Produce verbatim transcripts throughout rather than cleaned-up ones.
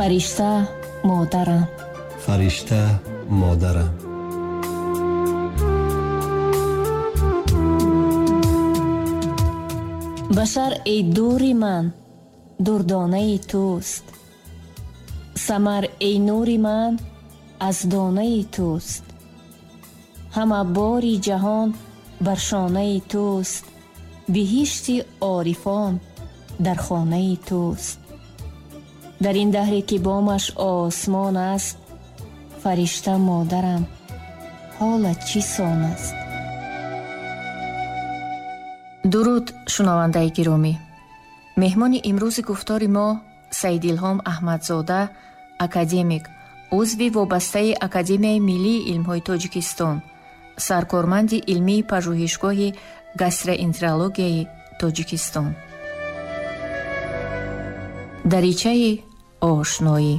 Фаришта модарам. Фаришта модарам. Башар эй дури ман, дурдонаи туст. Самар эй нури ман, аз донаи туст. Ҳама бори ҷаҳон бар шонаи туст. Биҳишти орифон дар хонаи туст. Дар ин даҳре ки бомаш осмон аст, фаришта модарам ҳолат чӣ сон аст? Дуруд, шунавандаи гиромӣ. Меҳмони имрӯзи гуфтори мо Саидилҳом Аҳмадзода, академик, узви вобастаи Академияи миллии илмҳои Тоҷикистон, саркорманди илмии пажӯҳишгоҳи гастроэнтерологияи Тоҷикистон. Даричаи ошноӣ.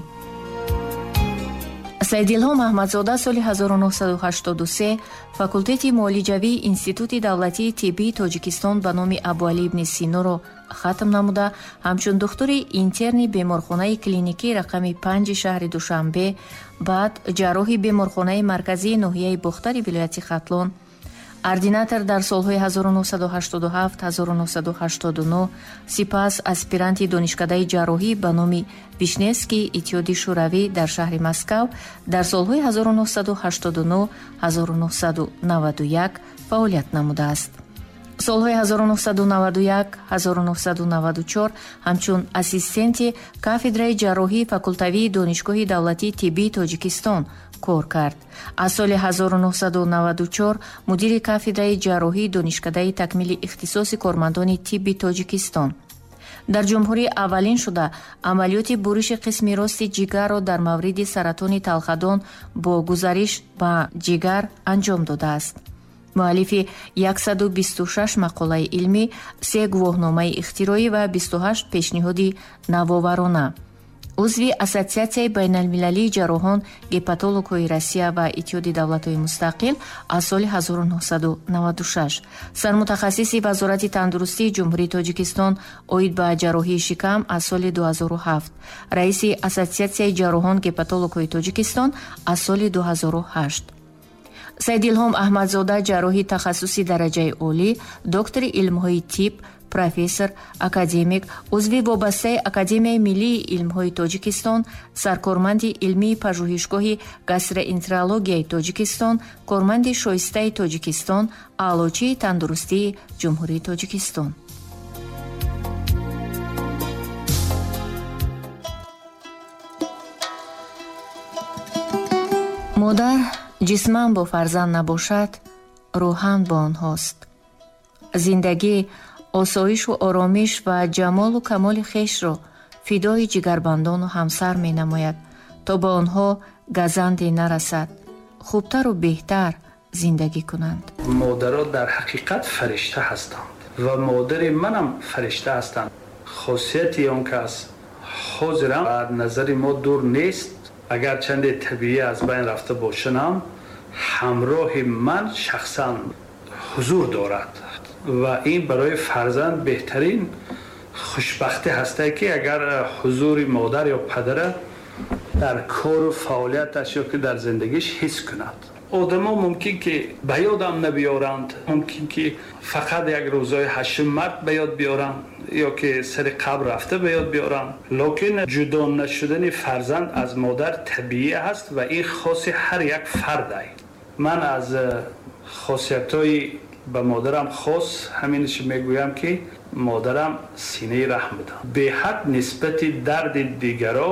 Саидилҳом Аҳмадзода соли ҳазору нӯҳсаду ҳаштоду се факултети муолиҷавии Институти давлатии тиббии Тоҷикистон ба номи Абуалӣ ибни Синоро хатм намуда, ҳамчун духтури интерни беморхонаи клиникии рақами панҷи шаҳри Душанбе, баъд ҷарроҳи беморхонаи марказии ноҳияи Бохтари вилояти Хатлон, ординатор дар солҳои ҳазору нӯҳсаду ҳаштоду ҳафт ҳазору нӯҳсаду ҳаштоду нӯҳ, сипас аспиранти донишкадаи ҷарроҳӣ ба номи Вишневский Иттиҳоди Шӯравӣ дар шаҳри Москав дар солҳои ҳазору нӯҳсаду ҳаштоду нӯҳ ҳазору нӯҳсаду наваду як фаъолият намудааст. Солҳои ҳазору нӯҳсаду наваду як ҳазору нӯҳсаду наваду чор ҳамчун ассистенти кафедраи ҷарроҳии факултавии Донишгоҳи давлатии тиббии Тоҷикистон кор кард. Аз соли ҳазору нӯҳсаду наваду чор мудири кафедраи ҷарроҳии Донишкадаи такмили ихтисоси кормандони тибби Тоҷикистон. Дар ҷумҳурӣ аввалин шуда амалиёти буриши қисми рости ҷигарро дар мавриди саратони талхадон бо гузариш ба ҷигар анҷом додааст. Муаллифи яксаду бисту шаш мақолаи илмӣ, се гувоҳномаи ихтироӣ ва бисту ҳашт пешниҳоди навоварона. Узви Ассотсиатсияи байналмилалии ҷарроҳон гепатологҳои Россия ва Иттиҳоди давлатҳои мустақил аз соли ҳазору нӯҳсаду наваду шаш, сармутахассиси Вазорати тандурустии Ҷумҳурии Тоҷикистон оид ба ҷарроҳии шикам аз соли ду ҳазору ҳафт, раиси Ассотсиатсияи ҷарроҳон гепатологҳои Тоҷикистон аз соли ду ҳазору ҳашт. Саидилҳом Аҳмадзода ҷарроҳи тахассуси дараҷаи олӣ, доктори илмҳои тиб, профессор, академик, узви вобастаи Академияи миллии илмҳои Тоҷикистон, саркорманди илмии пажӯҳишгоҳи гастроэнтерологияи Тоҷикистон, корманди шоистаи Тоҷикистон, аълочии тандурустии Ҷумҳурии Тоҷикистон. Модар ҷисман бо фарзанд набошад, рӯҳан бо онҳост. Зиндагӣ осоишу оромиш ва ҷамолу камоли хешро фидои ҷигарбандону ҳамсар менамояд, то ба онҳо газанде нарасад, хубтару беҳтар зиндагӣ кунанд. Модаро дар ҳақиқат фаришта ҳастанд ва модари манам фаришта ҳастанд. Хосияти он кас ҳозирам аз назари мо дур нест. Агар чанде табиӣ аз байн рафта бошанам, ҳамроҳи ман шахсан ҳузур дорад ва ин барои фарзанд беҳтарин хушбахтӣ ҳасте, ки агар ҳузури модар ё падара дар кору фаъолияташ ё ки дар зиндагиш ҳис кунад. Одамо мумкин ки ба ёдам набиёранд, мумкин ки фақат як рӯзҳои ҳаштум март ба ёд биёранд ё ки сари қабр рафта ба ёд биёранд, лекин ҷудо нашудани фарзанд аз модар табиӣ аст ва ин хоси ҳар як фард аст. Ман аз хосиятҳои ба модарам хос ҳаминаш мегӯям, ки модарам синаи раҳм буда. Беҳад нисбати дарди дигаро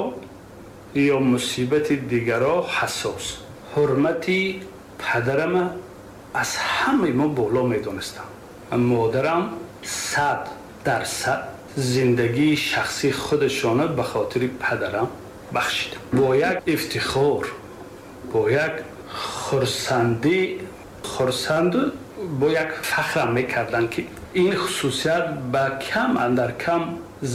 ё мусибати дигаро ҳассос. Ҳурмати падарама аз ҳамаи мо боло медонистам. Модарам сад дар сад зиндагии шахсии худашона ба хотири падарам бахшидам. Бо як ифтихор, бо як хурсандӣ, хурсанду бо як фахрам мекарданд, ки ин хусусият ба кам андар кам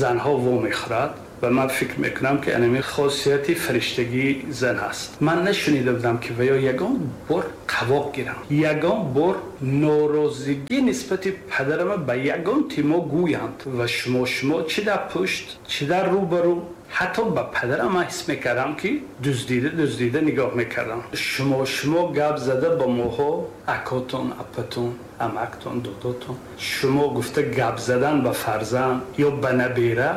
занҳо вомехӯрад ва ман фикр мекунам, ки анами хосияти фариштагии зан ҳаст. Ман нашунида будам, ки ва ё ягон бор қавоқ гирам, ягон бор норозигӣ нисбати падарама ба ягон тимо гӯянд ва шумо шумо чӣ дар пушт, чӣ дар рӯбарӯ Ҳатто ба падарам ман ҳис мекардам, ки дуздида дуздида нигоҳ мекардам. Шумо шумо гап зада ба моҳо, акотон, апатон, амактон, додотон, шумо гуфта гап задан ба фарзанд ё ба набера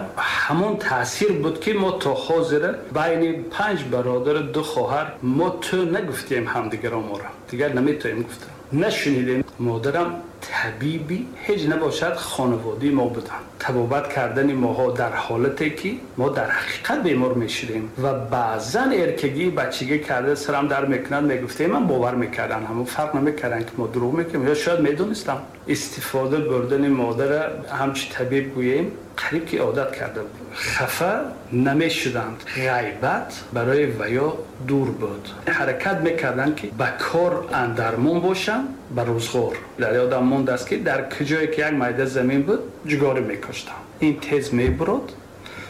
ҳамон таъсир буд, ки мо то ҳозира байни панҷ бародару ду хоҳар мо ту нагуфтем ҳамдигаро, моро дигар наметоем гуфта, нашунидем. Модарам табиби ҳеҷ набошад хонаводаи мо буданд. Табобат кардани моҳо дар ҳолате ки мо дар ҳақиқат бемор мешудем ва баъзан эркагӣ бачагӣ карда сарам дар мекунад мегуфтем, ман бовар мекардам, ҳамон фарқ намекарданд ки мо дурӯғ мекунем ё шояд медонистам. Истифода бурдани модара ҳамчун табиб гӯем қариб ки одат карда буд. Хафа намешуданд, ғайбат барои ваё дур буд. Ҳаракат мекарданд ки ба кор андармон бошанд, ба рӯзғор. Дар ёдам мондааст ки дар куҷое ки як майда замин буд ҷугорӣ мекоштам. Ин тез мебурд,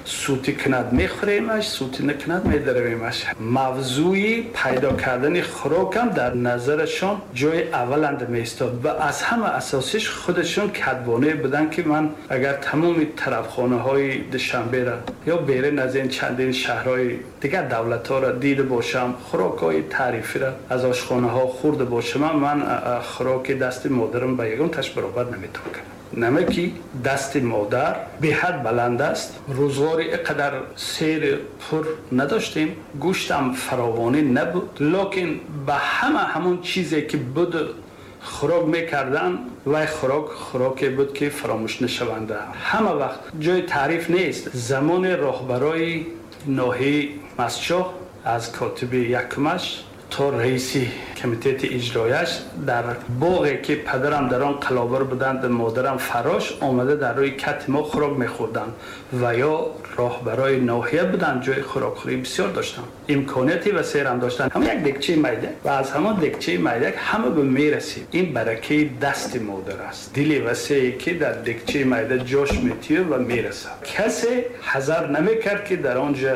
сути кунад мехӯремаш, сути накунад медаравемаш. Мавзӯи пайдо кардани хӯрокам дар назарашон ҷои авваланда меистод ва аз ҳама асосиш худашон кадбонае буданд, ки ман агар тамоми тарафхонаҳои Душанберо ё берун аз ин чандин шаҳрҳои дигар давлатҳоро дида бошам, хӯрокҳои таърифиро аз ошхонаҳо хӯрда бошам, ман хӯроки дасти модарам ба ягон таш баробар наметавон кардам. Намаки дасти модар беҳад баланд аст. Рӯзғори инқадар сер пур надоштем, гӯштам фаровонӣ набуд, лекин ба ҳама ҳамон чизе ки буд хӯрок мекардан, вай хӯрок хӯроке буд ки фаромӯш нашаванда. Ҳама вақт ҷои таъриф нест. Замони роҳбарои ноҳияи Мастчоҳ аз котиби якумаш то раиси комитети иҷрояш дар боғе ки падарам дар он қалобар буданд, модарам фарош омада дар рӯи кати мо хӯрок мехӯрданд ва ё роҳбарои ноҳия буданд, ҷои хӯрокхӯрӣ бисёр доштанд, имконияти васеърам доштанд. Ҳама як декчаи майда ва аз ҳамон декчаи майда ҳама ба мерасид. Ин баракаи дасти модар аст, дили васее ки дар декчаи майда ҷош метиёд ва мерасад. Касе ҳазар намекард ки дар он ҷо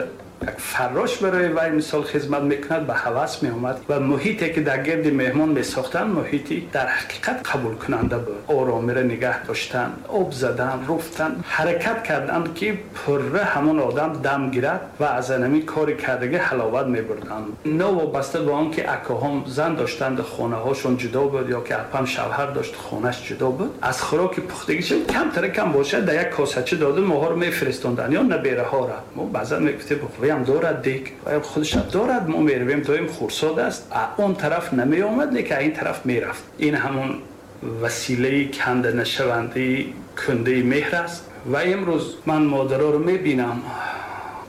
як фарош барои вай мисол хизмат мекунад, ба ҳавас меомад ва муҳите ки дар гирди меҳмон месохтанд муҳити дар ҳақиқат қабулкунанда буд. Оромиро нигаҳ доштан, об задан, руфтан, ҳаракат карданд ки пурра ҳамон одам дам гирад ва аз ҳамин кори кардагӣ ҳаловат мебурданд. Новобаста ба он ки акоҳом зан доштанд, хонаҳошон ҷудо буд ё ки апам шавҳар дошт, хонаш ҷудо буд, аз хӯроки пухтагиша камтара кам бошад дар як косача дода моҳоро мефиристонданд ё набераҳоро. Мо баъзан мегуфтем ам дорад дик, худаш дорад, мо меравем, доим хурсод аст. Он тараф намеомад, лекин ин тараф мерафт. Ин ҳамон василаи канда нашавандаи кундаи меҳр аст. Ва имрӯз ман модароро мебинам,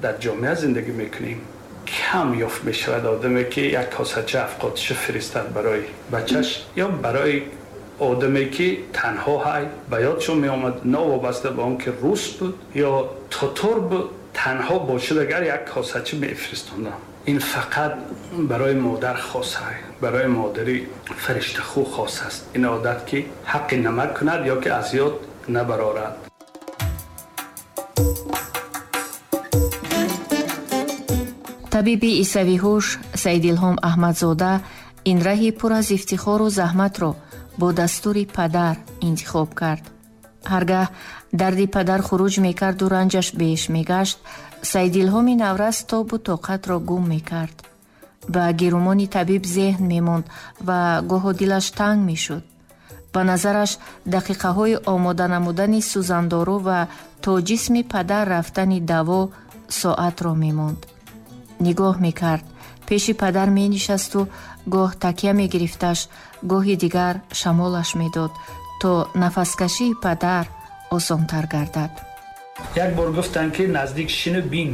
дар ҷомеа зиндагӣ мекунем, кам ёфт мешавад одаме ки як косача афқотиша фиристад барои бачаш ё барои одаме ки танҳо ҳай. Ба ёдшон меомад, новобаста ба он ки рус буд ё татор буд, танҳо бошад агар як косача мефиристондам. Ин фақат барои модар хос аст, барои модари фариштахӯ хос аст. Ин одат ки ҳаққи намак кунад ё ки аз ёд набарорад. Табиби исавиҳуш Саидилҳом Аҳмадзода ин раҳи пур аз ифтихору заҳматро бо дастури падар интихоб кард. Ҳаргаҳ дарди падар хуруҷ мекарду ранҷаш беш мегашт, Саидилҳоми наврас тобу тоқатро гум мекард. Ба гирумони табиб зеҳн мемонд ва гоҳо дилаш танг мешуд. Ба назараш дақиқаҳои омода намудани сӯзандору ва то ҷисми падар рафтани даво соатро мемонд. Нигоҳ мекард, пеши падар менишасту гоҳ такя мегирифташ, гоҳи дигар шамолаш медод, то нафаскашии падар осонтар гардад. Як бор гуфтанд ки наздик шину бин.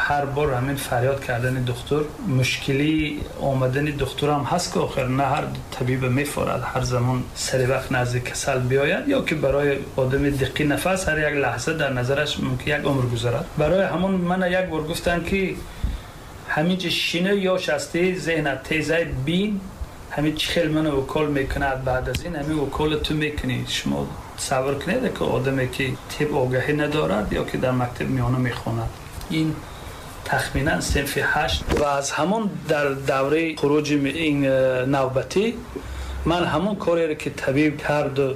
Ҳар бор ҳамин фарёд кардани духтур, мушкили омадани духтурам ҳаст ки охир на ҳар табиба мефорад ҳар замон сари вақт назди касал биёяд, ё ки барои одами диққи нафас ҳар як лаҳза дар назараш мумкин як умр гузарад. Барои ҳамон мана як бор гуфтанд ки ҳамин ҷо шину ёш ҳастӣ, зеҳнат тезай, бин ҳамин чӣ хел мана укол мекунад, баъд аз ин ҳамин укола ту мекунӣ. Шумо тасаввур кунед ки одаме ки тиб огаҳӣ надорад ё ки дар мактаб миёна мехонад, ин тахминан синфи ҳашт ва аз ҳамон дар давраи хуруҷи ин навбатӣ ман ҳамон кореро ки табиб карду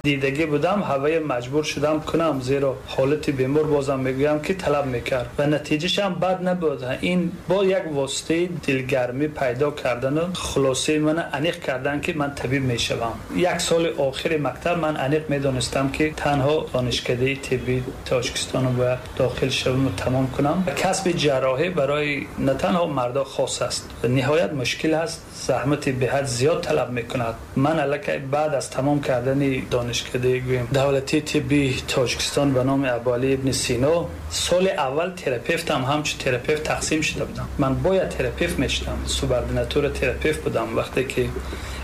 Дидагӣ будам, ҳавои маҷбур шудам кунам, зеро ҳолати бемор бозам мегӯям ки талаб мекард ва натиҷааш ҳам бад набуд. Ин бо як воситаи дилгармӣ пайдо кардан ва хулосаи ман аниқ кардан ки ман табиб мешавам. Як соли охири мактаб ман аниқ медонистам ки танҳо донишкадаи тиббии Тоҷикистонро бояд дохил шавам ва тамом кунам. Касби ҷарроҳӣ барои на танҳо мардо хос аст, ниҳоят мушкил аст, заҳмати беҳад зиёд талаб мекунад. Ман аллакай баъд аз тамом кардани донишкадаи гӯем давлатии тиббии Тоҷикистон ба номи Абуалӣ ибни Сино соли аввал терапевтам ҳамчун терапевт тақсим шуда будам. Ман бояд терапевт мешудам, субординатура терапевт будам. Вақте ки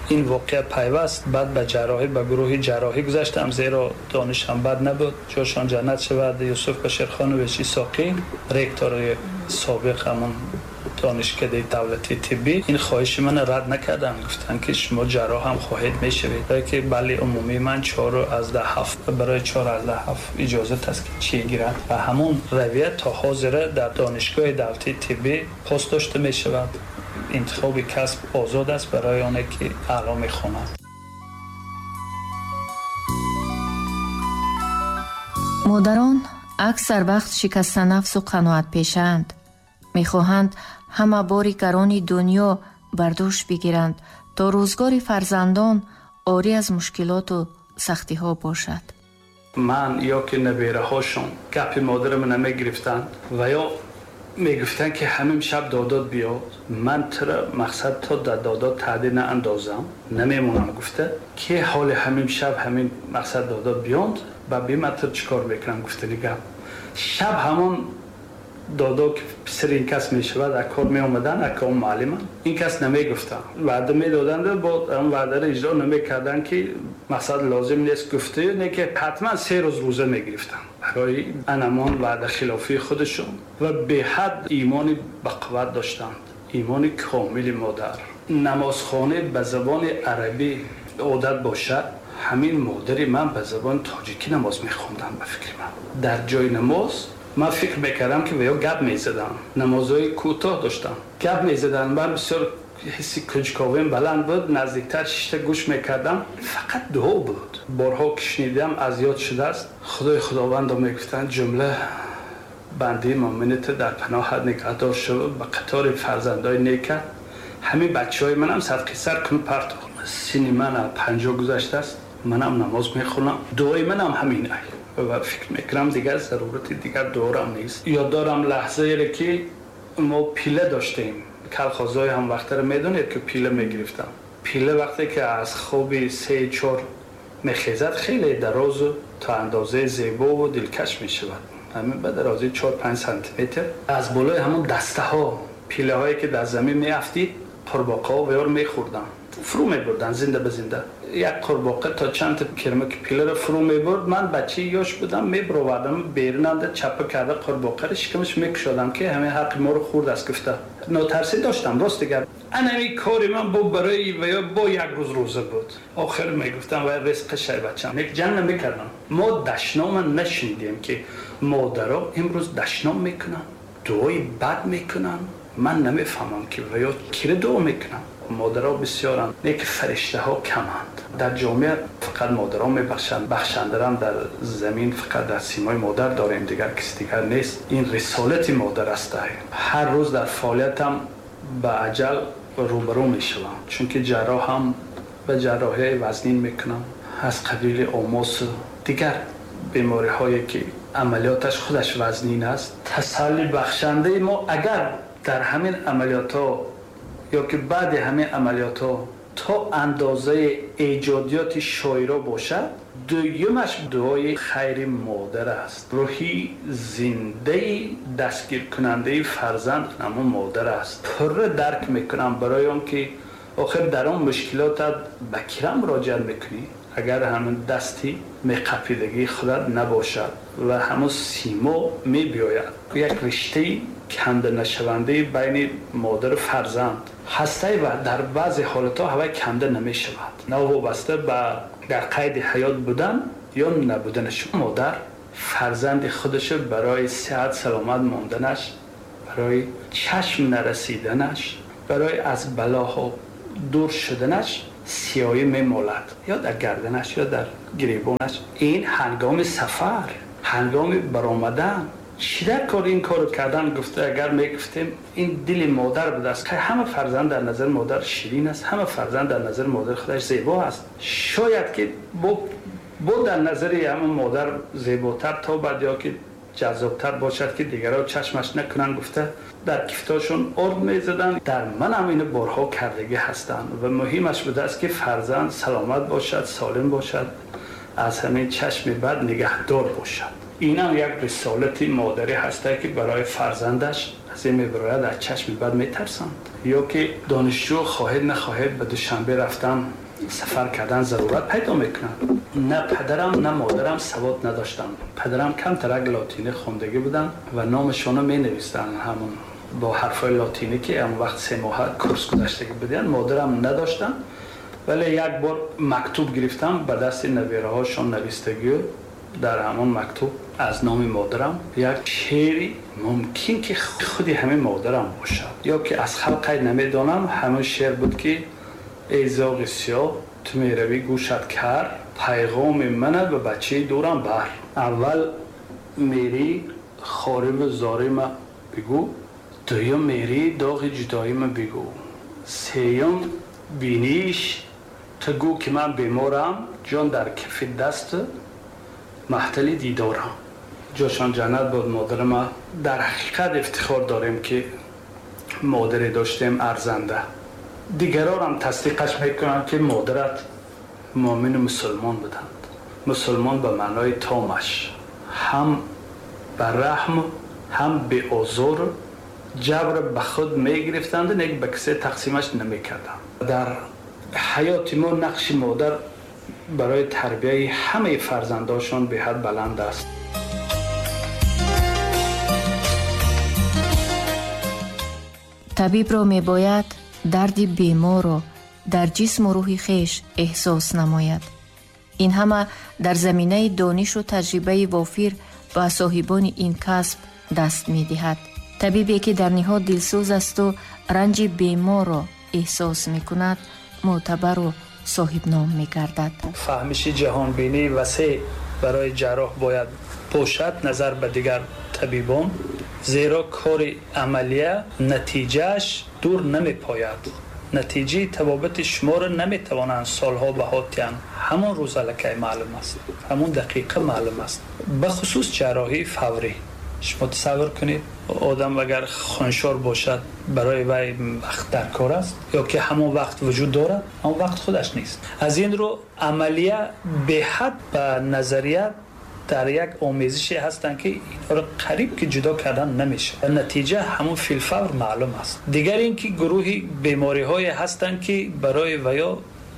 ин воқеа пайваст, баъд ба ҷарроҳӣ, ба гурӯҳи ҷарроҳӣ гузаштам, зеро донишам бад набуд. Ҷошон ҷаннат шавад, Юсуф Баширхонович Исоқӣ, ректори собиқ ҳамон донишкадаи давлатии тиббӣ, ин хоҳиши ман рад накарданд. Гуфтанд ки шумо ҷарроҳ ҳам хоҳед мешавед. Барои ки балли умумии ман чор аз даҳ ҳафт, барои чор аз даҳ ҳафт иҷозат аст ки чӣ гирад ва ҳамон равия то ҳозира дар донишгоҳи давлатии тиббӣ пос дошта мешавад. Интихоби касб озод аст барои оне ки аъло мехонад. Модарон аксар вақт шикастанафсу қаноатпешаанд. Мехоҳанд ҳама бори гарони дунё бар дӯш бигиранд то рӯзгори фарзандон орӣ аз мушкилоту сахтиҳо бошад. Ман ё ки набераҳошон гапи модарам намегирифтанд ва ё мегуфтанд ки ҳамин шаб додод биёд, ман тура мақсад то дар додод таъдил наандозам намемонам, гуфта ки ҳоли ҳамин шаб ҳамин мақсад додод биёнд ба би ман тур чӣ кор мекунам гуфтани гап. Шаб ҳамон додо ки писари ин кас мешавад, акор меомаданд, ака он муаллиманд, ин кас намегуфтанд, ваъда медоданд, бо он ваъдаро иҷро намекарданд ки мақсад лозим нест гуфта, не ки ҳатман се рӯз рӯза мегирифтанд барои анамон ваъда хилофии худашон ва беҳад имони бақувват доштанд, имони комили модар. Намозхона ба забони арабӣ одат бошад, ҳамин модари ман ба забони тоҷикӣ намоз мехонданд. Ба фикри ман дар ҷои намоз ман фикр мекардам ки ё гап мезадам, намозҳои кӯтоҳ доштам, гап мезадам. Ман бисёр ҳисси кунҷковиам баланд буд, наздиктар шишта гӯш мекардам, фақат дуо буд. Борҳо ки шунидам аз ёд шудааст, Худои Худовандо мегуфтанд ҷумла бандаи мӯъминат дар паноҳат нигаҳдор шав, ба қатори фарзандои нека ҳамин бачаҳои манам садқи сар кун партов. Синни ман панҷоҳ гузаштааст, манам намоз мехонам, дуои манам ҳамин ай ва фикр мекунам дигар зарурати дигар дуорам нест. Ёд дорам лаҳзаеро ки мо пила доштем, калхозҳои ҳам вақтаро медонед ки пила мегирифтам. Пила вақте ки аз хоби се чор мехезад хеле дарозу то андозаи зебову дилкаш мешавад, ҳамин ба дарозии чор панҷ сантиметр. Аз болои ҳамон дастаҳо пилаҳое ки дар замин меафтид, қурбоқаҳо веёр мехӯрданд, фурӯ мебурданд зинда ба зинда. Як қурбоқа то чанд та кирмаки пиларо фурӯ мебурд. Ман бачаи ёш будам, мебировардам берунанда чапа карда қурбоқаро шикамаш мекушодам ки ҳамин ҳаққи моро хӯрдааст гуфта. Нотарсӣ доштам, рост дигар. Анами кори ман бо барои ва ё бо як рӯз рӯза буд. Охир мегуфтам вай ризқи шай бачам. Нек ҷанг намекардам. Мо дашнома нашунидем ки модаро имрӯз дашном мекунанд, дуои бад мекунанд. Ман намефаҳмам ки ва ё киро дуо мекунанд. Модаро бисёранд, не ки фариштаҳо каманд. Дар ҷомеа фақат модарон мебахшанд, бахшандарам дар замин фақат дар симои модар дорем, дигар кис дигар нест. Ин рисолати модар аст. Ҳар рӯз дар фаъолиятам ба аҷал рӯбарӯ мешавам, чунки ҷарроҳам ба ҷарроҳияи вазнин мекунам, аз қабили омосу дигар бемориҳое ки амалиёташ худаш вазнин аст. Тасалли бахшандаи мо агар дар ҳамин амалиётҳо ё ки баъди ҳамин амалиётҳо то андозаи эҷодиёти шоиро бошад, дуюмаш дуои хайри модар аст. Рӯҳи зиндаи дастгиркунандаи фарзанд ҳамон модар аст. Пурра дарк мекунам барои он ки охир дар он мушкилотат ба кира муроҷиат мекунӣ агар ҳамон дасти меқапидагии худат набошад ва ҳамон симо мебиёяд. Як риштаи канда нашавандаи байни модару фарзанд ҳастае ва дар баъзе ҳолатҳо ҳавай канда намешавад, новобаста ба дар қайди ҳаёт будан ё набуданаш. Модар фарзанди худашро барои сиҳат саломат монданаш, барои чашм нарасиданаш, барои аз балоҳо дур шуданаш сиёҳӣ мемолад, ё дар гарданаш ё дар гиребонаш. Ин ҳангоми сафар, ҳангоми баромадан чӣ дар кор ин корро кардан гуфта агар мегуфтем, ин дили модар будааст. Ҳама фарзанд дар назари модар ширин аст, ҳама фарзанд дар назари модар худаш зебо аст. Шояд ки бо бо дар назари ҳамон модар зеботар тобад ё ки ҷаззобтар бошад, ки дигарон чашмаш накунанд гуфта дар кифтошон орд мезаданд. Дар ман ҳам инро борҳо кардагӣ ҳастанд ва муҳимаш будааст, ки фарзанд саломат бошад, солим бошад, аз ҳамин чашми бад нигаҳдор бошад. Инам як рисолати модарӣ ҳаст, ки барои фарзандаш аз ин мебарояд, аз чашми бад метарсанд. Ё ки донишҷӯ хоҳед нахоҳед ба Душанбе рафтан, сафар кардан зарурат пайдо мекунад. На падарам на модарам савод надоштанд. Падарам камтарак лотинӣ хондагӣ буданд ва номашонро менавистанд ҳамон бо ҳарфҳои лотинӣ, ки он вақт се моҳа курс гузаштагӣ буданд. Модарам надоштанд, вале як бор мактуб гирифтам ба дасти набераҳошон навистагӣ. Дар ҳамон мактуб аз номи модарам як шеъри мумкин ки худи ҳамин модарам бошад ё ки аз халқ намедонам, ҳамон шеър буд ки эй зоғи сиёҳ ту меравӣ гӯшат кар, пайғоми мана ба бачаи дурам бар. Аввал мерӣ хориву зорима бигӯ, дуюм мерӣ доғи ҷудоима бигӯ, сеюм биниш ту гӯ ки ман беморам, ҷон дар кифи даст маҳтали дидорам. Ҷошон ҷаннат буд модарама. Дар ҳақиқат ифтихор дорем, ки модаре доштем арзанда. Дигарорам тасдиқаш мекунанд, ки модарат муъмину мусулмон буданд. Мусулмон ба маънои томаш, ҳам ба раҳм ҳам беозор, ҷабр ба худ мегирифтанд, нек ба касе тақсимаш намекарданд. Дар ҳаёти мо нақши модар барои тарбияи ҳамаи фарзандошон беҳад баланд аст. Табибро мебояд дарди беморро дар ҷисму рӯҳи хеш эҳсос намояд. Ин ҳама дар заминаи донишу таҷрибаи вофир ба соҳибони ин касб даст медиҳад. Табибе ки дар ниҳод дилсӯз асту ранҷи беморро эҳсос мекунад, мӯътабару соҳибном мегардад. Фаҳмиши ҷаҳонбинии васеъ барои ҷарроҳ бояд бошад назар ба дигар табибон, зеро кори амалия натиҷааш дур намепояд. Натиҷаи табобати шуморо наметавонанд солҳо баҳо диҳанд. Ҳамон рӯз аллакай маълум аст, ҳамон дақиқа маълум аст. Бахусус ҷарроҳии фаврӣ. Шумо тасаввур кунед, одам агар хуншор бошад, барои вай вақт дар кор аст ё ки ҳамон вақт вуҷуд дорад, ҳамон вақт худаш нест. Аз ин рӯ амалия беҳад ба назария дар як омезише ҳастанд, ки инҳоро қариб ки ҷудо кардан намешавад. Натиҷа ҳамон филфавр маълум аст. Дигар ин ки гурӯҳи бемориҳое ҳастанд, ки барои ваё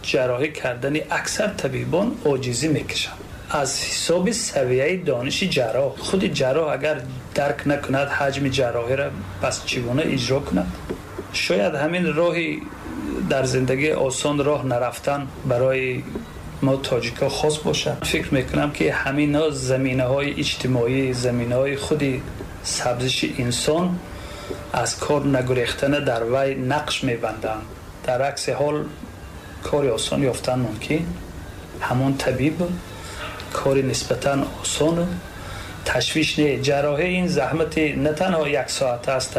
ҷарроҳӣ кардани аксар табибон оҷизӣ мекашанд. Аз ҳисоби савияи дониши ҷарроҳ. Худи ҷарроҳ агар дарк накунад ҳаҷми ҷарроҳиро, пас чӣ гуна иҷро кунад? Шояд ҳамин роҳи дар зиндагӣ осон роҳ нарафтан барои мо тоҷикҳо хос бошад. Фикр мекунам, ки ҳаминҳо заминаҳои иҷтимоӣ, заминаҳои худи сабзиши инсон аз кор нагурехтана дар вай нақш мебанданд. Дар акси ҳол кори осон ёфтан мумкин. Ҳамон табиб кори нисбатан осон, ташвиш не. Ҷарроҳӣ ин заҳмати на танҳо як соат аст,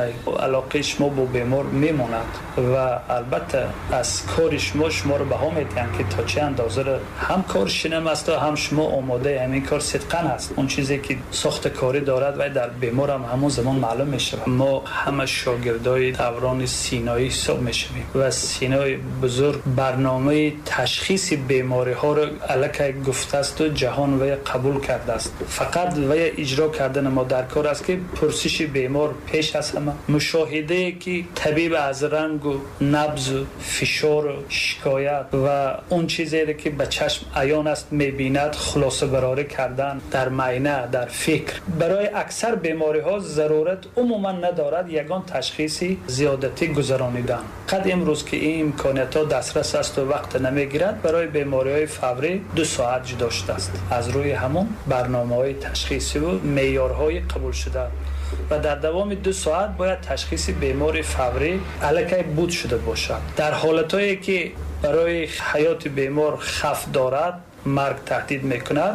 алоқаи шумо бо бемор мемонад ва албатта аз кори шумо шуморо баҳо медиҳанд, ки то чӣ андоза ҳам кор шинам аст ва ҳам шумо омодаи ҳамин кор сидқан аст. Он чизе ки сохта корӣ дорад вай дар бемор ҳам ҳамон замон маълум мешавад. Мо ҳама шогирдои даврони Синоӣ ҳисоб мешавем ва Синои бузург барномаи ташхиси бемориҳоро аллакай гуфтааст ва ҷаҳон вай қабул кардааст. Фақат вай иҷро кардани мо дар кор аст, ки пурсиши бемор пеш аз ҳама, мушоҳидае ки табиб аз рангу набзу фишору шикоят ва он чизеро ки ба чашм аён аст мебинад, хулосабарорӣ кардан дар майна, дар фикр. Барои аксар бемориҳо зарурат умуман надорад ягон ташхиси зиёдатӣ гузаронидан. Қад имрӯз ки ин имкониятҳо дастрас аст ва вақт намегирад, барои бемориҳои фаврӣ ду соат ҷудо шудааст аз рӯи ҳамон барномаҳои ташхисиву меъёрҳои қабулшуда ва дар давоми ду соат бояд ташхиси бемори фаврӣ аллакай буд шуда бошад. Дар ҳолатҳое ки Барои ҳаёти бемор хавф дорад, марг таҳдид мекунад.